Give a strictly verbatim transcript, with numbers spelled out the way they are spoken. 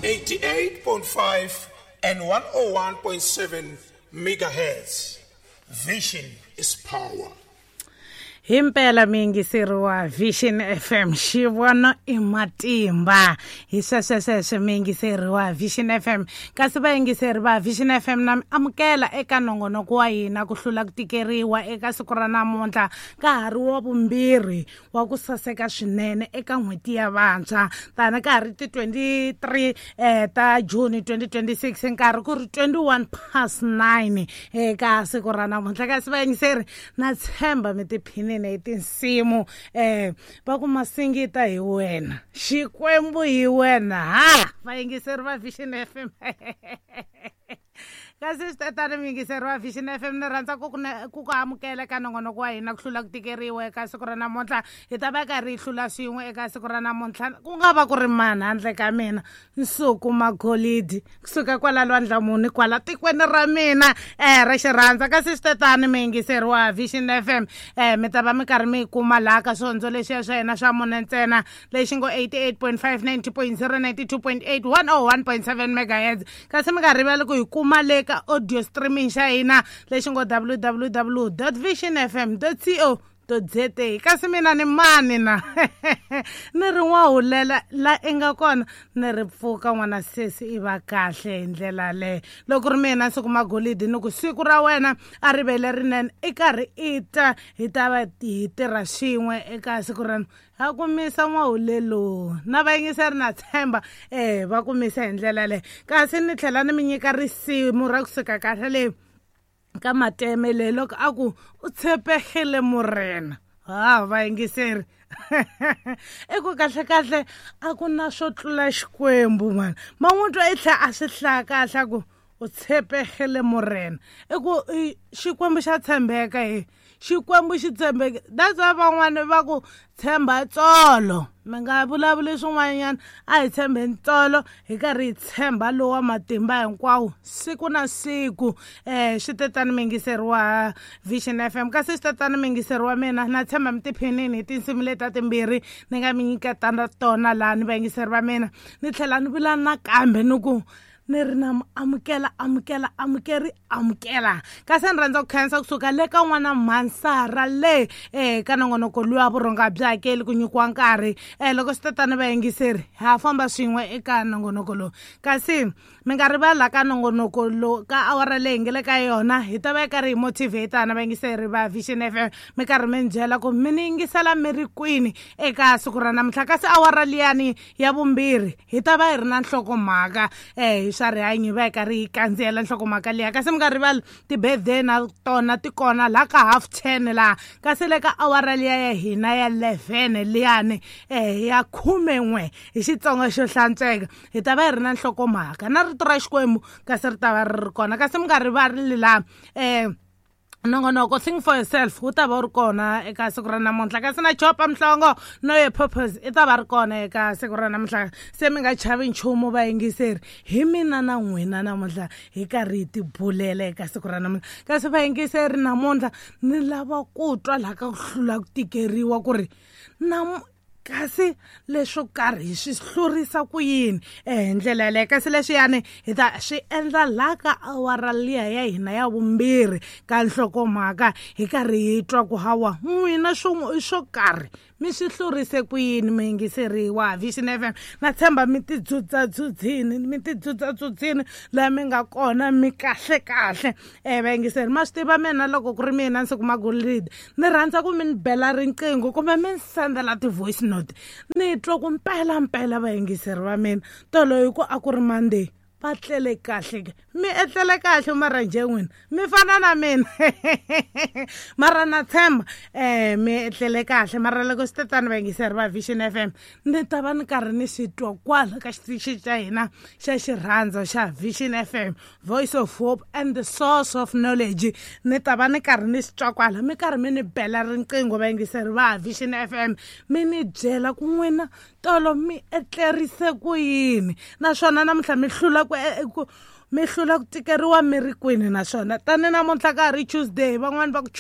eighty-eight point five and one oh one point seven megahertz. Vision is power. Himpela miyingiseri wa Vision F M xivono i matimba hi sweswe sweswe miyingiseri wa Vision F M kasi vayingiseri va Vision F M na mi amukela eka nongonoko wa hina ku hlula ku tikeriwa eka siku ra namuntlha ka ha ri wa vumbirhi wa ku saseka swinene eka n'hweti ya vantshwa tani ka ha ri ti twenty-three eh ta June twenty twenty-six nkarhi ku ri twenty-one past nine eka siku ra namuntlha kasi vayingiseri na tshemba mi tiphini hi tinsimu eh va ku masingita hi wena xikwembu hi wena ha vayingiseri va Vision F M kasi swi tatani muyingiseri wa Vision F M ni rhandza ku ku ku amukela eka nongonoko wa hina ku hlula ku tikeriwa eka siku ra namuntlha hi ta va karhi hi hlula swin'we eka siku ra namuntlha ku nga va ku ri mani handle ka mina Nsuku Magolidi kusuka kwala Lwandlamuni kwala tikweni ra mina eh ra xirhandza kasi swi tatani muyingiseri wa Vision F M eh mi ta va mi karhi mi kuma laha ka swihondzo leswiya swa hina swa mune ntsena lexi ngo eighty-eight point five, ninety point zero, ninety-two point eight, one oh one point seven megahertz kasi mi nga rivali ku hi kuma le ka audio streaming xa hina lexi ngo w w w dot vision f m dot co dot z a kasi mina ni mani na ni ri n'wahulela la i nga kona ni ri pfuka n'wana sesi i va kahle hi ndlela leyo loko ri mina Nsuku Magolidi ni ku siku ra wena a ri ve lerinene i karhi i ta hi ta va hi tirha swin'we eka siku ra ha kumisa n'wahulelo na vayingiseri na tshemba eh va kumisa hi ndlela leyo kasi ni tlhela ni mi nyika risimu ra kusuka kahle leyi ka mateme leyi loko a ku u tshepegile morena ha vayingiseri i ku kahle kahle a ku na swo tlula xikwembu mani man'we twa i tlhela a swi hlaya kahle a ku u tshepegile morena i ku xikwembu xa tshembeka he xikwembu xi tshembeke that's why van'wani va ku tshemba tsolo mi nga vulavuli swin'wanyana a hi tshembeni tsolo hi karhi hi tshemba lowa matimba hinkwawo siku na siku eh swi tetani miyingiseri wa Vision F M kasi swi tetani miyingiseri wa mina na tshemba mi tiphinini hi tinsimu leta timbirhi ni nga mi nyiketana tona laha ni vayingiseri va mina ni tlhela ni vula nakambe ni ku ni ri na amukela amukela amukeri amukela kasi ni rhandza ku khensa kusuka le ka n'wana Mansara le eh ka nongonoko luwa vurhonga byi hakeli ku nyikiwa nkarhi eh loko swi tatani vayingiseri ha famba swin'we eka nongonoko lowu kasi mi nga rivali la ka nongonoko lowu ka awara leyi nge le ka yona hi ta va yi karhi hi motivatana vayingiseri va Vision F M mi karhi mi ni byela ku mi ni yingisela mi ri kwini eka siku ra namuntlha kasi awara liyani ya vumbirhi hi ta va hi ri na nhlokomhaka eh hi swa rihanyo hi va hi karhi hi kandziyela nhlokomhaka liya kasi mi nga rivali ti-birthday na tona ti kona laha ka half ten laha kasi le ka awara liya ya hina ya eleven liyani eh ya khumen'we hi Xitsonga xo hlantsweka hi ta va hi ri na nhlokomhaka na rito ra Xikwembu kasi ri ta va ri ri kona kasi mi nga rivali laha eh nongonoko think for yourself wu ta va wu ri kona eka siku ra namuntlha kasi na Chopa Mhlongo no your purpose i ta va ri kona eka siku ra namuntlha se mi nga chavi nchumu vayingiseri hi mina na n'wina namuntlha hi karhi hi tibulela eka siku ra namuntlha kasi vayingiseri namuntlha ni lava ku twa laha ka ku hlula ku tikeriwa ku ri na kasi leswo karhi hi swi hlurisa ku yini eh hi ndlela yaleyo kasi leswiyani hi ta swi endla laha ka awara liya ya hina ya vumbirhi ka nhlokomhaka hi karhi hi twa ku hawa n'wina swo swo karhi mi swi hlurise ku yini muyingiseri wa Vision F M na tshemba mi tidzudza-dzudzini mi tidzudza-dzudzini laha mi nga kona mi kahle kahle eh vayingiseri ma swi tiva mina loko ku ri mina Nsuku Magolidi ni rhandza ku mi ni bela riqingho kumbe mi ni sendela ti-voice note ni twa ku mpela mpela vayingiseri va mina tolo hi ku a ku ri Monday va tlele kahle ke mi etlele kahle mara njhe n'wina mi fana na mina mara na tshemba eh mi etlele kahle mara loko swi tatani vayingiseri va Vision F M ni ta va ni karhi ni swi twa kwala ka xitichi xa hina xa xirhandza xa Vision F M Voice of Hope and the Source of Knowledge ni ta va ni karhi ni swi twa kwala mi karhi mi ni bela riqingho vayingiseri va Vision F M mi ni byela ku n'wina tolo mi etlerise ku yini naswona namuntlha mi hlula ku ku mi hlula ku tikeriwa mi ri kwini naswona tani namuntlha ka ha ri Tuesday van'wani va ku